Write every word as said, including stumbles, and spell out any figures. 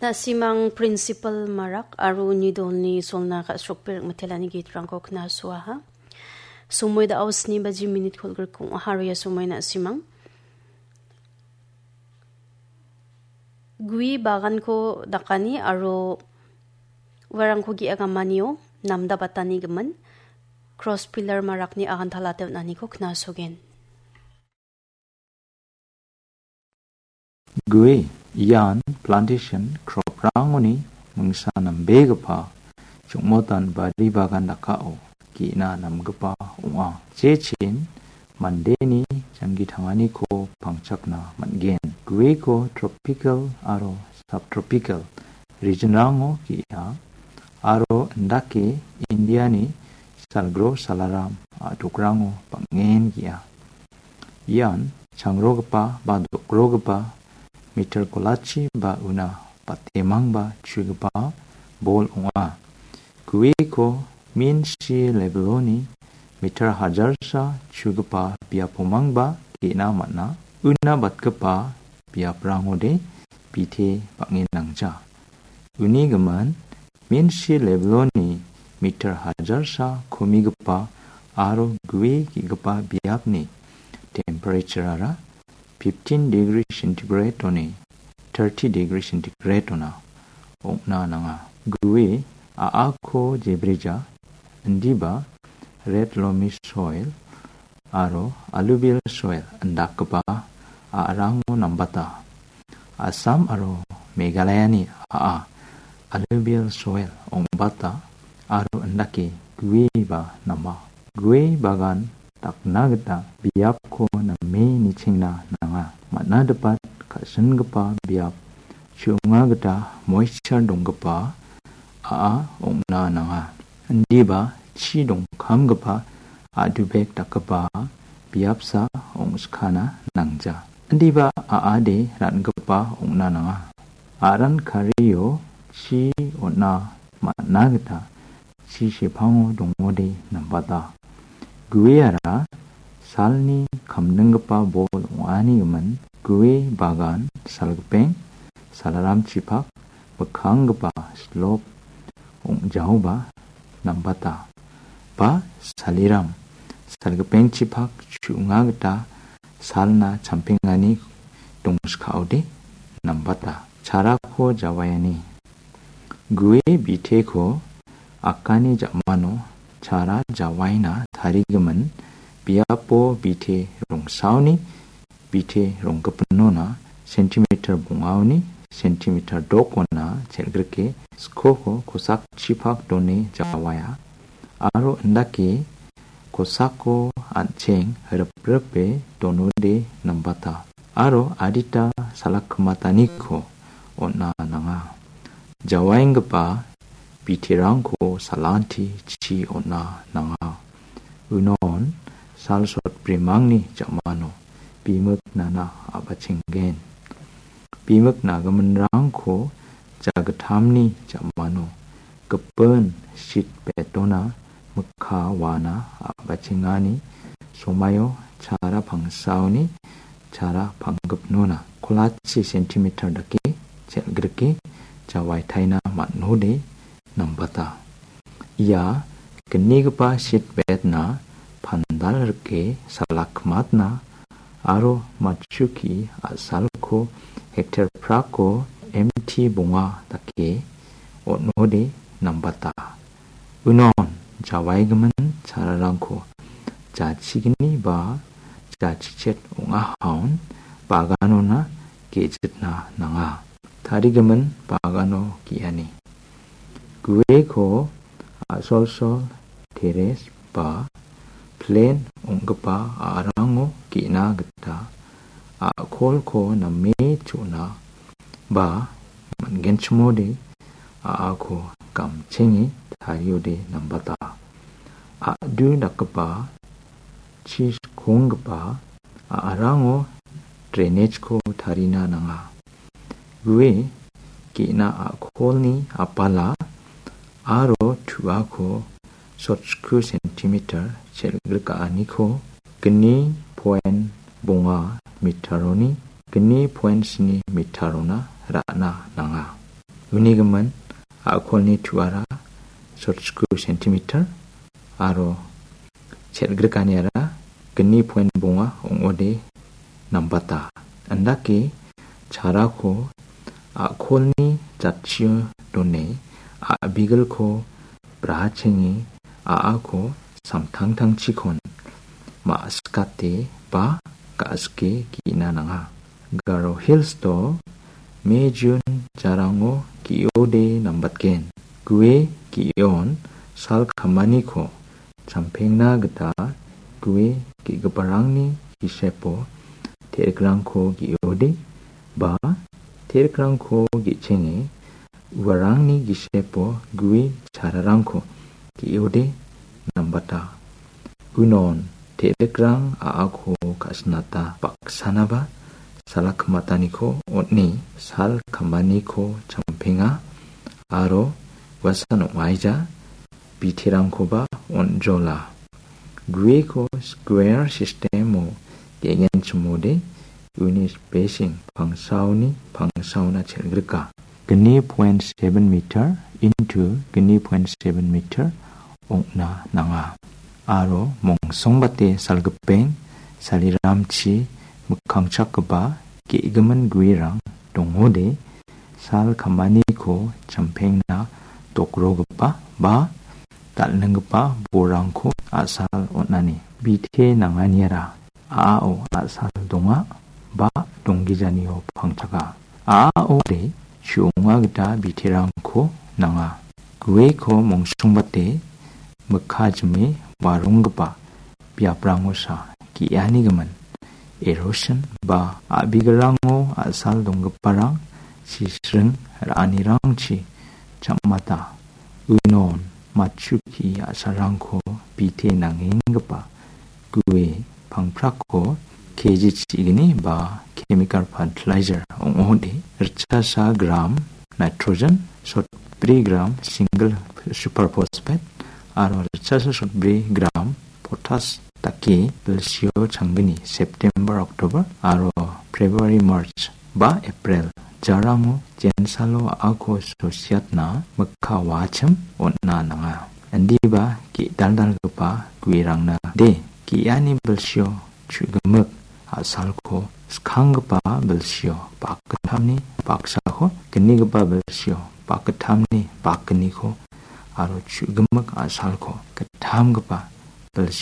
Na·simang Principal Marak aro uni dolni solna ka·srokberek mitelani gitrangko knasoaha. Somoi da·o sni baji minit kolgrikko ong·aha aro ia somoi na·simang gue baganko dakani aro uarangko ge·a gamanio namda batani gimin cross pillar marakni agantalate on·aniko knasogen. Gue ian plantation crop-rangoni mingsa nambegipa chongmotan bari bagan dakao ge·na namgipa ong·a. Jechin mandeni janggi tanganiko pangchakna man·gen. Gueko tropical aro subtropical region-rango ge·a aro indake Indiani salgro salaram a·dokrango bang·en ge·a. Ian changrogipa ba dokrogipa meter kolachi ba una batemangba chugipa bol ong·a. Gueko min si leveloni meter hajarsa chugipa biapomangba ge·na man·a. Una batgipa biaprangode bite bang·en nangja. Uni gimin min si leveloni meter hajarsa komigipa aro gue ge·gipa biapni temperature-ara fifteen degree centigrade-oni thirty degree centigrade-ona ong·na nanga. Gue a·ako jebrija, indiba red loamy soil aro alluvial soil indakgipa a·rango nambata. Assam aro Meghalayani a·a alluvial soil ong·bata aro indake gue ba nama. Gue bagan dakna gita biapko name nichengna nanga. Man·a dipat ka·singipa biap chu·onga gita moisture donggipa a·a ong·na nanga. Indiba chi dongkamgipa a·dubek dakgipa biapsa ong·skana nangja. Indiba a·ade ra·gipa ong·na nanga. Aran kario chi on·a man·a gita chi sepango dongode nambata. Gueara salni kamninggipa bol ong·ani gimin gue bagan salgipeng, salaramchipak, mikkanggipa slop ong·jaoba nambata. Ba saliram salgipengchipak chu·onga gita salna champengani dongskaode nambata. Charako jawaiani. Gue biteko akani ja·mano chara jawaina tarigimin biapo bite rongsaoni bite ronggipinona centimeter bongaoni centimeter dokona chel·grike skoko kosakchipak done jawaia aro indake kosako an·cheng ripripe donode nambata aro adita salakkimataniko on·a nanga. Jawaenggipa biterangko salanti chi on·a nanga. Unon sal sotbrimangni ja·mano bimik nana a·bachenggen. Bimik nagiminrangko jagittamni ja·mano gipin shit bed-ona mikka wana a·bachengani somaio chara pangsaoni chara panggipnona kolachi centimeter dake chel·grike jawaitaina man·ode nambata. Ia gnigipa shit bed-na pandal rike salakkimatna aro matchuki a·salko hektar prako M T bonga dake on·ode nambata. Unon jawaigimin chararangko jachigni ba jachichet ong·ahaon baganona ge·jitna nanga. Tarigimin bagano ge·ani. Gueko a·solsol teres ba plen ong·gipa a·rango ge·na gita a·kolko name chu·na ba man·genchimode a·ako gamchenge tariode nambata. A·du dakgipa chi skonggipa a·rango drainage-ko tarina nanga. Gue ge·na a·kolni apala aro tu·ako sotchiku centimeter chel·grika·aniko gni point bonga meter-oni gni point sni meter-ona ra·na nanga. Uni gimin a·kolni tuara sotchiko centimeter aro chelgrikaniara gni point bonga ong·ode nambata. Indake charako a·kolni jatchio done a·bigilko brachenge a·ako samtangtangchikon ma·sikate ba ga·sike ge·na nanga. Garo Hills-o May June jarango ge·ode nambatgen. Gue ge·on sal kamaniko champengna gita gue ge·giparangni gisepo te·rikrangko ge·ode ba te·rikrangko ge·chenge uarangni gisepo gue chararangko ge·ode nambata. Unon te·rikrang a·ako ka·sinata baksanaba sala kimataniko on·e sal kamaniko champenga aro uasan ong·aija biterangkoba on·jola. Gueko square system-o ge·genchimode uni spacing pangsaoni pangsaona chelgrika. Gni point seven meter into gni point seven meter ong·na nanga. Aro mongsongbate salgipeng saliramchi mikkangchakgipa ge·gimin guerang dongode sal kamaniko champengna dokrogipa ba dal·ninggipa borangko a·sal on·ani. Bite nanganiara a·ao a·sal donga ba donggijanio pangchaka. A·aode chu·onga gita biterangko nanga. Gueko mongsongbate mikka jime waronggipa biaprangosa ge·ani gimin erosion ba a·bigilrango a·sal donggiparang sisring ra·anirangchi cham·ata. Unon matchu ki a·salrangko bite nangenggipa gue pangprako K G chigni ba chemical fertilizer ong·ode ritchasa gram nitrogen, sotbri gram single superphosphate aro ritchasa sotbri gram potas dake bilsio changgni September, October aro February, March ba April jarango jensalo a·ako sosiatna mikka wachim on·na nanga. Indiba ge·daldalgipa guerangna de ge·ani bilsio chu·gimik a·salko skanggipa bilsio bakgittamni baksako gnigipa bilsio bakgittamni bakgniko aro chu·gimik a·salko gittamgipa bilsio